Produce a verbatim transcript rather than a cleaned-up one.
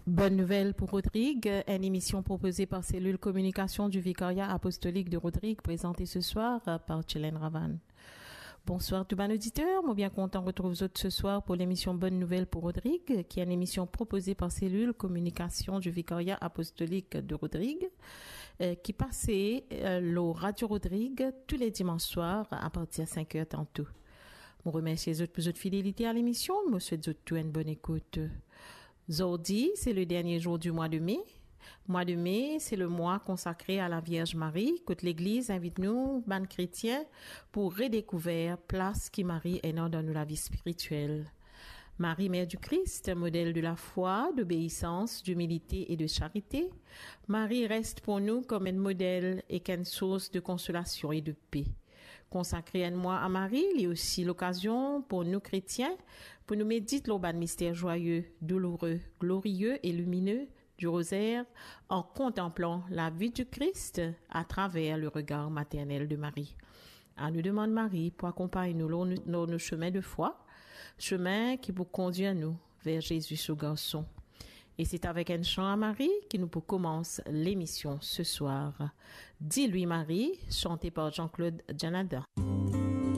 Bonne nouvelle pour Rodrigue, une émission proposée par Cellule Communication du Vicariat Apostolique de Rodrigue, présentée ce soir, euh, par Chelen Ravan. Bonsoir tout bann auditeur, mo bien kontan retrouv zot ce soir pour l'émission Bonne Nouvelle pour Rodrigue, qui est une émission proposée par Cellule Communication du Vicariat Apostolique de Rodrigue, euh, qui passe, euh, lor Radio Rodrigue tous les dimanches soirs à partir cinq heures tantôt. Mo remersie zot pour zot fidélité à l'émission, mo swet zot tou une bonne écoute. Zordi, c'est le dernier jour du mois de mai. Mois de mai, c'est le mois consacré à la Vierge Marie, kot Legliz invit nou, bann kretien, pour redécouvrir plas ki Marie ena dan nou lavi spirituel. Marie, mère du Christ, modèle de la foi, d'obéissance, d'humilité et de charité. Marie reste pour nous comme un modèle et qu'une source de consolation et de paix. Consacrer un mois à Marie, li osi lokazion pour nou kretien, pour nou medit lor bann mister zwaye, douloure, glorie e limine du rozaire, en contemplant la vie du Christ à travers le regard maternel de Marie. Anou demann Marie pour akonpagn nou lor nou, lor nou chemin de foi, chemin ki pou kondir nou vers Jésus, son garçon. Et c'est avec un chant à Marie que nous pour commencer l'émission ce soir. Dis-lui Marie, chanté par Jean-Claude Janada.